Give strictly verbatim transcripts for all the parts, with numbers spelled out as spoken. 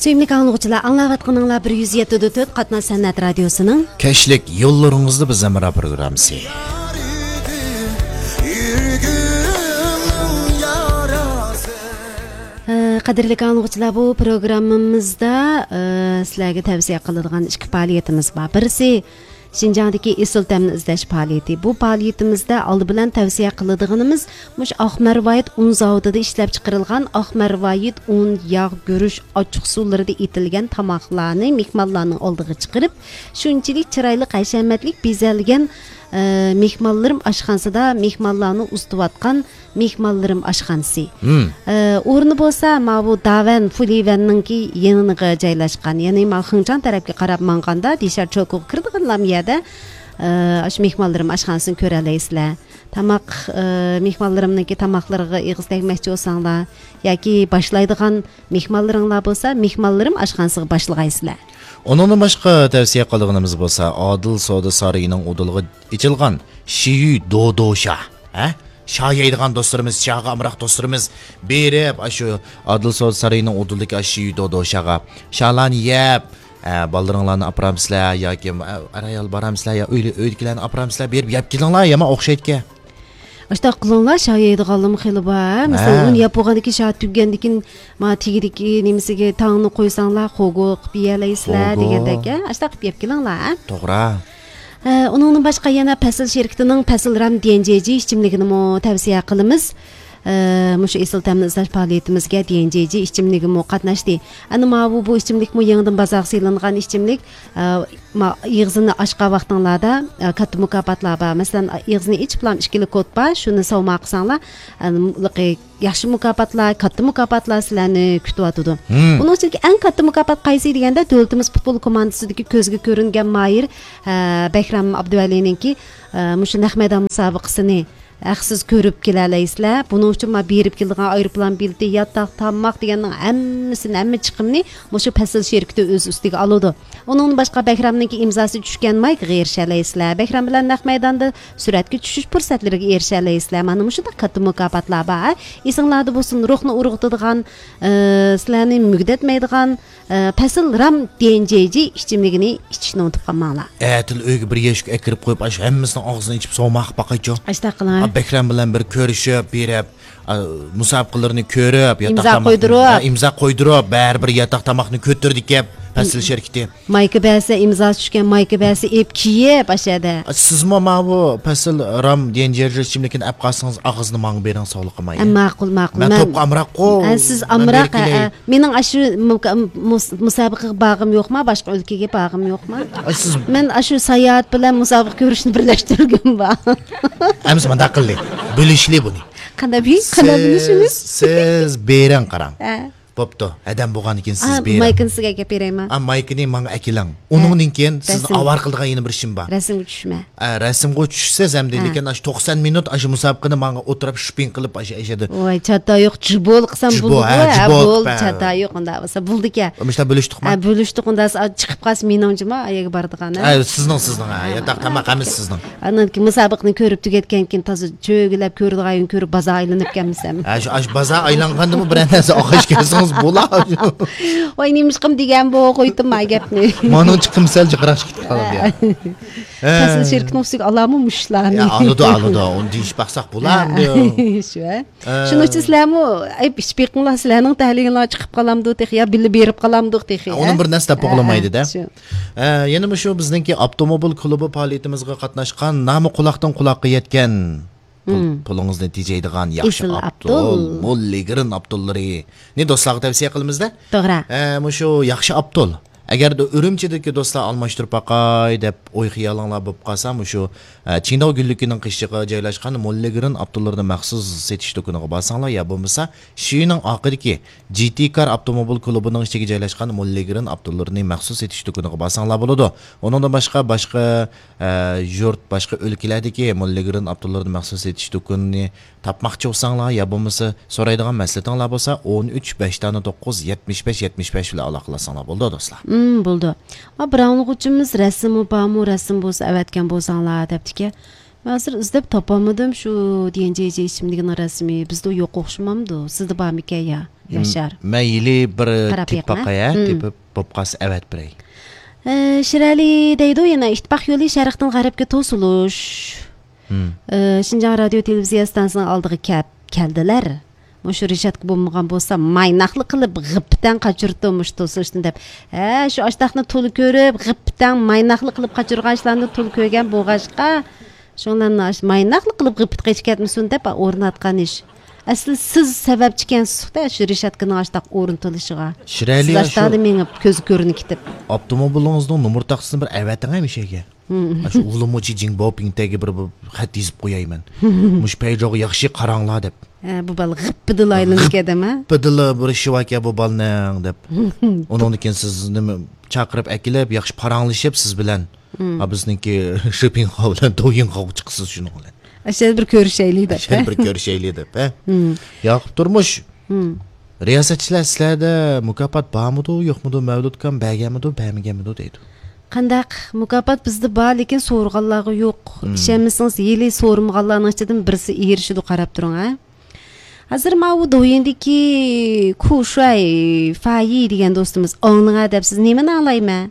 سۆيۈملۈك ئاڭلىغۇچىلار، ئاڭلاۋاتقىنىڭلار بىر يۈز يەتتە دۆتتە قاتناش سەنئەت رادىيوسىنىڭ كەچلىك يوللىرىڭىزدا بىز ھەمراھ پروگراممىسى. ئە، قەدىرلىك ئاڭلىغۇچىلار، بۇ پروگراممىمىزدا، ئە، سىلەرگە تەۋسىيە قىلىدىغان ئىككى پائالىيىتىمىز بار. بىرسى، شىنجاڭدىكى ئېسىل تەمنى ئىزدەش پائالىيىتى. بۇ پائالىيىتىمىزدە ئالدى بىلەن تەۋسىيە قىلىدىغىنىمىز مۇشۇ ئاق مەرۋايىت ئۇن زاۋۇتىدا ئىشلەپ چىقىرىلغان ئاق مەرۋايىت ئۇن، ياغ، گۈرۈچ، ئاچچىق سۇلىرىدا ئېتىلگەن تاماقلارنى مېھمانلارنىڭ ئالدىغا چىقىرىپ، شۇنچىلىك چىرايلىق، ھەشەمەتلىك بېزەلگەن، ئە، مېھمانلىرىم ئاشخانىسىدا مېھمانلارنى ئۇزىتىۋاتقان مېھمانلىرىم ئاشخانىسى. مم. ئە، ئورنى بولسا ماۋۇ داۋەن، فۇلىۋەننىڭكى يېنىغا جايلاشقان. يەنى ماۋۇ خېڭچاڭ تەرەپكە قاراپ ماڭغاندا، دىشار چوكىغا كىرىدىغانلام يەردە، ئە، ئاشۇ مېھمانلىرىم ئاشخانىسىنى كۆرەلەيسىلەر. تاماق، ئە، مېھمانلىرىمنىڭكى تاماقلىرىغا ئېغىز تەگمەكچى بولساڭلار ياكى باشلايدىغان مېھمانلىرىڭلار بولسا، مېھمانلىرىم ئاشخانىسىغا باشلىغايسىلەر. ئۇنىڭدىن باشقا تەۋسىيە قىلىدىغىنىمىز بولسا، ئادىل سودا سارىيىنىڭ ئۇدۇلىغا ئېچىلغان شىيۈ دودو شا. ھە؟ شا يەيدىغان دوستلىرىمىز، شاغا ئامراق دوستلىرىمىز بېرىپ، ئاشۇ ئادىل سودا سارىيىنىڭ ئۇدۇلىدىكى ئاشۇ شىيۈ دودو شاغا شالارنى يەپ، ئە، بالىلىرىڭلارنى ئاپىرامسىلەر ياكى، ئە، ئەر-ئايال بارامسىلەر يا ئۆي-، ئۆيدىكىلەرنى ئاپىرامسىلەر، بېرىپ يەپ كېلىڭلار، يامان ئوخشايدىكەن. ئاشتاق قىلىڭلار، شا يەيدىغانلىرىمۇ خېلى بار. مەسىلەن، ھە. ئۇنى يەپ بولغاندىن كېيىن شا تۈگىگەندىن كېيىن، ما تېگىدىكى نېمىسىگە تاڭنى قويساڭلار، خوگو قىلىپ يېيەلەيسىلەر خوگو. دېگەندەك، ھە؟ ئاشتاق قىلىپ يەپ كېلىڭلار، ھە؟ توغرا. ھە، ئۇنىڭدىن باشقا يەنە پەسىل شىركىتىنىڭ پەسىل رام دى ئېن جى جى ئىچىملىكىنىمۇ تەۋسىيە قىلىمىز. ھە، مۇشۇ ئېسىل تەمنى ئىزدەش پائالىيىتىمىزگە دى ئېن جى جى ئىچىملىكىمۇ قاتناشتى. ئەنە ماۋۇ بۇ ئىچىملىكمۇ يېڭىدىن بازارغا سېلىنغان ئىچىملىك. ئە، ما-، ئېغىزىنى ئاچقان ۋاقتىڭلاردا، ئە، كاتتا مۇكاپاتلار بار. مەسىلەن، ئېغىزىنى ئېچىپلا ئىككىلا كود بار، شۇنى سوۋغا قىلساڭلار، ئە، ياخشى مۇكاپاتلار، كاتتا مۇكاپاتلار سىلەرنى كۈتۈۋاتىدۇ. مم. ئۇنىڭ ئىچىدىكى ئەڭ كاتتا مۇكاپات قايسى دېگەندە، دۆلىتىمىز پۇتبول كوماندىسىدىكى كۆزگە كۆرۈنگەن ماھىر، ئە، بەھرام ئابدۇۋەلىنىڭكى، ئە، مۇشۇ نەق مەيدان مۇسابىقىسىنى ھەقسىز كۆرۈپ كېلەلەيسىلەر. بۇنىڭ ئۈچۈن مانا بېرىپ كېلىدىغان ئايروپىلان بېلىتى، ياتاق، تاماق دېگەننىڭ ھەممىسىنى، ھەممە چىقىمنى مۇشۇ پەسىل شىركىتى ئۆز ئۈستىگە ئالىدۇ. ئۇنىڭدىن باشقا بەھرامنىڭكى ئىمزاسى چۈشكەن مايكىغا ئېرىشەلەيسىلەر. بەھرام بىلەن نەق مەيداندا سۈرەتكە چۈشۈش پۇرسەتلىرىگە ئېرىشەلەيسىلەر. مانا مۇشۇنداق كاتتا مۇكاپاتلار بار. ئېسىڭلاردا بولسۇن، روھنى ئۇرغۇتىدىغان، ئى، سىلەرنى مۈگدەتمەيدىغان، ئى، پەسىل رام دى ئېن جى جى ئىچىملىكىنى ئىچىشنى ئۇنتۇپ قالماڭلار. ئەتىل ئۆيگە بىر يەشىك ئەكىرىپ قويۇپ، ئاشۇ ھەممىسىنىڭ ئاغزىنى ئېچىپ سوۋغا قىلىپ باقايچۇ. ئاشتاق قىلىڭ. ئا، بەھرام بىلەن بىر كۆرۈشۈپ، بېرىپ، ئا، مۇسابىقىلىرىنى كۆرۈپ، ياتاق ئىمزا تاماقنى، قويدۇرۇپ. ئا، ئىمزا قويدۇرۇپ، بەرىبىر ياتاق تاماقنى كۆتۈردى كەپ، پەسىل شىركىتى. مايكا بەرسە، ئىمزاسى چۈشكەن مايكا بەرسە، ئېلىپ كىيىپ، ئاشۇ يەردە. ئا، سىزمۇ ماۋۇ پەسىل رام دى ئېن جى جى ئىچىملىكىنى ئەپ قالسىڭىز، ئاغزىنى ماڭا بېرىڭ، سوۋغا قىلماي. ئە، ماقۇل، ماقۇل. مەن مەن، توپقا ئامراققۇ. ئە، سىز مەن ئامراق، بېرىپ كېلەي. ئە، ئە. مېنىڭ ئاشۇ مۇكا-، مۇس-، مۇسابىقىگە بارغۇم يوقما، باشقا ئۆلكىگە بارغۇم يوقما؟ ئاي، سىز مەن ئاشۇ ساياھەت بىلەن مۇسابىقە كۆرۈشنى بىرلەشتۈرگۈم بار. ئەمىسە مۇنداق قىلدى. بۆلۈشلى بۇنى. قانداق بى-، قانداق سىز، بۆلۈشىمىز؟ سىز بېرىڭ قاراڭ. ھە. بوپتۇ. ھەدەم بولغاندىن كېيىن سىز ئا، بېرىڭ. مايكىنى سىزگە ئەكەپ بېرەيمۇ؟ ئا، مايكىنى ماڭا ئەكېلىڭ. ھە. ئۇنىڭدىن كېيىن سىزنى رەسىم. ئاۋارە قىلىدىغان يەنە بىر ئىشىم بار. رەسىمگە چۈشمە. ئە، رەسىمغۇ چۈشسىز ئەمدى، ھە. لېكىن ئاشۇ توقسان مىنۇت ئاشۇ مۇسابىقىنى ماڭا ئولتۇرۇپ شوپىڭ قىلىپ ئاشۇ ئەشەدە. ۋاي، چاتا يوق، جۇبول قىلسام جۇبو، بولىدۇ، ھە، ھە، جۇبو بول، قىلىپ، ھە. چاتا يوق، ئۇنداق بولسا بولدىكەن. مۇشۇنداق بۆلۈشتۇقما؟ ھە، بۆلۈشتۇق، ئۇنداق بولسا چىقىپ قالسا مېنىڭجىما ئايەگە بارىدىغان، ھە. ھە، سىزنىڭ، سىزنىڭ، ھە، ھە، ياتاق ھە. تاماق ھەممىسى سىزنىڭ. ئاندىن كېيىن مۇسابىقىنى كۆرۈپ تۈگەتكەن كېيىن تازا چۆگىلەپ كۆرىدىغان يېرىنى كۆرۈپ بازار ئايلىنىپ كەلمىسەم. ھە، شۇ، ئاشۇ بازار ئايلانغاندىمۇ بىرەر نەرسە ئالغاچ كەلسىڭىز بولا. ۋاي، نېمىشقىم دېگەن بۇ، قويدۇم ما گەپنى. مانىڭچە قىلمىسەل جىقراق كېتىپ قالىدۇ. ھە. ھە. پەسىل شىركىتىنىڭ ئۈستىگە ئالامۇ مۇشۇلارنى؟ يا، ئالىدۇ، ئالىدۇ. ئۇنى دېيىشىپ باقساق بولا ھە. ئەمدى. شۇ، ھە. ھە. شۇنىڭ ئۈچۈن سىلەرمۇ، ئەي، ئىش بېقىڭلار، سىلەرنىڭ تەھلىلىڭلار چىقىپ قالامدۇ تېخى، يا بىللە بېرىپ قالامدۇق تېخى، ھە، ھە؟ ئۇنىڭ بىر نەرسە دەپ ھە، بولمايدۇ-دە. ھە، شۇ. ھە، يەنە مۇشۇ بىزنىڭكى ئاپتوموبىل كۇلۇبى پائالىيىتىمىزغا قاتناشقان نامى قۇلاقتىن قۇلاققا يەتكەن پۇل، مم. پۇلىڭىزنى تېجەيدىغان ياخشى ئېسىل ئاپتول، ئاپتول. موللىگرىن ئاپتوللىرىنى دوستلارغا تەۋسىيە قىلىمىز-دە. توغرا. ھە، مۇشۇ ياخشى ئاپتول. ئەگەردە ئۈرۈمچىدىكى دوستلار ئالماشتۇرۇپ باقاي دەپ ئوي خىيالىڭلار بولۇپ قالسا، مۇشۇ، ئە، چىڭداۋ گۈللۈكىنىڭ قېشىغا جايلاشقان موللىگرىن ئاپتوللىرىنى مەخسۇس سېتىش دۇكىنىغا بارساڭلار، يا بولمىسا شىنىڭ ئارقىدىكى جى تى كار ئاپتوموبىل كۇلۇبىنىڭ ئىچىگە جايلاشقان موللىگرىن ئاپتوللىرىنى مەخسۇس سېتىش دۇكىنىغا بارساڭلار بولىدۇ. ئۇنىڭدىن باشقا، باشقا، ئە، يۇرت، باشقا ئۆلكىلەردىكى موللىگرىن ئاپتوللىرىنى مەخسۇس سېتىش دۇكىنىنى تاپماقچى بولساڭلار يا بولمىسا سورايدىغان مەسلىھىتىڭلار بولسا، ئون ئۈچ، بەش دانە توققۇز، يەتمىش بەش، يەتمىش بەش بىلەن ئالاقىلەشسەڭلار بولىدۇ، دوستلار. مم، بولىدۇ. ما بىر ئاڭلىغۇچىمىز رەسىمى بارمۇ، رەسىم بولسا ئەۋەتكەن بولساڭلار دەپتىكەن. ھازىر ئىزدەپ تاپالمىدىم شۇ دى ئېن جەي جەي ئىسىملىكىنىڭ رەسىمى. بىزدە يوق ئوخشىمامدۇ؟ سىزدە بارمىكەن يا، ياشار؟ مەن ھېلى بىر تېپىپ باقاي، ھە؟ تېپىپ، بولۇپ قالسا ئەۋەتىپ بېرەي. ئە، شىرئەلى دەيدۇ يەنە، ئىتتىپاق يولى شەرقتىن غەربكە توسۇلۇش. ئە، شىنجاڭ رادىيو تېلېۋىزىيە ئىستانسىسىنىڭ ئالدىغا كەپ، كەلدىلەر. مۇشۇ رىشاتكا بولمىغان بولسا، مايناقلا قىلىپ غىپپىتەڭ قاچۇرتتۇم مۇشۇ توسۇلۇشنى دەپ. ھە، شۇ ئاشتاقنى تولا كۆرۈپ، غىپپىتەڭ مايناقلا قىلىپ قاچۇرغان ئىشلارنى تولا كۆرگەن بولغاچقا، شۇڭلارنى ئاش-، مايناقلا قىلىپ غىپپىتى قېچىپ كەتمىسۇن دەپ ئورناتقان ئىش. ئەسلى سىز سەۋەبچىكەنسىز-دە شۇ رىشاتكىنىڭ ئاشتاق ئورنىتىلىشىغا. سىز ئاشتاقلا مېڭىپ، كۆزى كۆرۈنۈپ كېتىپ. ئاپتوموبىلىڭىزنىڭ نومۇر تاختىسىنى بىر ئەۋەتىڭە مۇشۇ يەرگە. ھىم. ئاشۇ ئۇلىمۇچى جىڭباۋپىڭتەگە بىر، بىر خەت يېزىپ قوياي مەن. مۇشۇ پەيجوغا ياخشى قاراڭلار دەپ. ھە، بۇ بالا غىپپىدىلا ئايلىنىپ كەتەم، ھە؟ غىپپىدىلا بىر ئىشى باركەن بۇ بالىنىڭ دەپ. ئۇنىڭدىن كېيىن سىز نېمە چاقىرىپ ئەكېلىپ، ياخشى پاراڭلىشىپ سىز بىلەن. ھىم. ھا، بىزنىڭكى شېپىڭخاۋ بىلەن دويىڭخاۋغا چىقىسىز شۇنىڭ بىلەن. ئاشۇ بىر كۆرۈشەيلى دەپ، ئاشۇ ھە؟ بىر كۆرۈشەيلى دەپ، ھە؟ ھىم. ياقۇپ تۇرمۇش. ھىم. رىياسەتچىلەر سىلەردە مۇكاپات بارمىدۇ، يوقمىدۇ، مەۋلۇتكام بەرگەنمىدۇ، بەرمىگەنمىدۇ دەيدۇ. قانداق؟ مۇكاپات بىزدە بار، لېكىن سورىغانلارغا يوق. مم. ئىشەنمىسىڭىز، ھېلى سورىمىغانلارنىڭ ئىچىدىن بىرسى ئېرىشىدۇ، قاراپ تۇرۇڭ، ھە. ھازىر ماۋۇ دويىندىكى كۇشۇەي فايى دېگەن دوستىمىز، ئاڭلىڭا دەپ سىز نېمىنى ئاڭلايمەن؟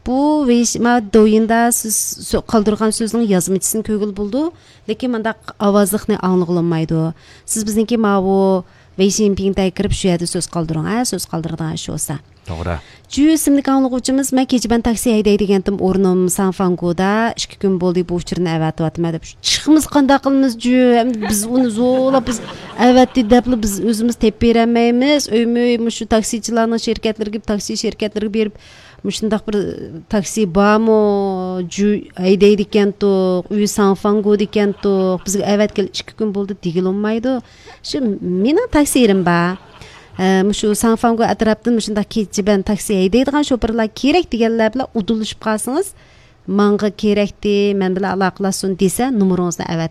بۇ ۋېيش-، ماۋۇ دويىندا سىز سۆ-، قالدۇرغان سۆزنىڭ يازمىچىسىنى كۆرگىلى بولىدۇ، لېكىن مۇنداق ئاۋازلىقنى ئاڭلىغىلى بولمايدۇ. سىز بىزنىڭكى ماۋۇ ۋېيشىنپىڭدە كىرىپ شۇ يەردە سۆز قالدۇرۇڭ، ھە، سۆز قالدۇرىدىغان ئىش بولسا. توغرا. جۈ ئىسىملىك ئاڭلىغۇچىمىز، مەن كېچە بىلەن تاكسى ھەيدەيدىگەنتىم، ئورنۇم ساڭفاڭگودا، ئىككى كۈن بولدى بۇ ئۇچۇرنى ئەۋەتىۋاتىمەن دەپ. چىقمىسا قانداق قىلىمىز جۈ؟ ئەمدى بىز ئۇنى زورلاپ، بىز ئەۋەتتى دەپلا بىز ئۆزىمىز تېپىپ بېرەلمەيمىز. ئۆيمۇ ئۆي مۇشۇ تاكسىچىلارنىڭ شىركەتلىرىگە، تاكسى شىركەتلىرىگە بېرىپ، مۇشۇنداق بىر تاكسى بارمۇ؟ جۈ ھەيدەيدىكەنتۇق، ئۆي ساڭفاڭگودىكەنتۇق، بىزگە ئەۋەتكىلى ئىككى كۈن بولدى دېگىلى بولمايدۇ. شۇ مېنىڭ تاكسىرىم بار. ھە، مۇشۇ ساڭفاڭگو ئەتراپىدىن مۇشۇنداق كېچە بىلەن تاكسى ھەيدەيدىغان شوپۇرلار كېرەك دېگەنلەر بىلەن ئۇدۇللىشىپ قالسىڭىز، ماڭا كېرەكتى، مەن بىلەن ئالاقىلاشسۇن دېسە، نومۇرىڭىزنى ئەۋەتىپ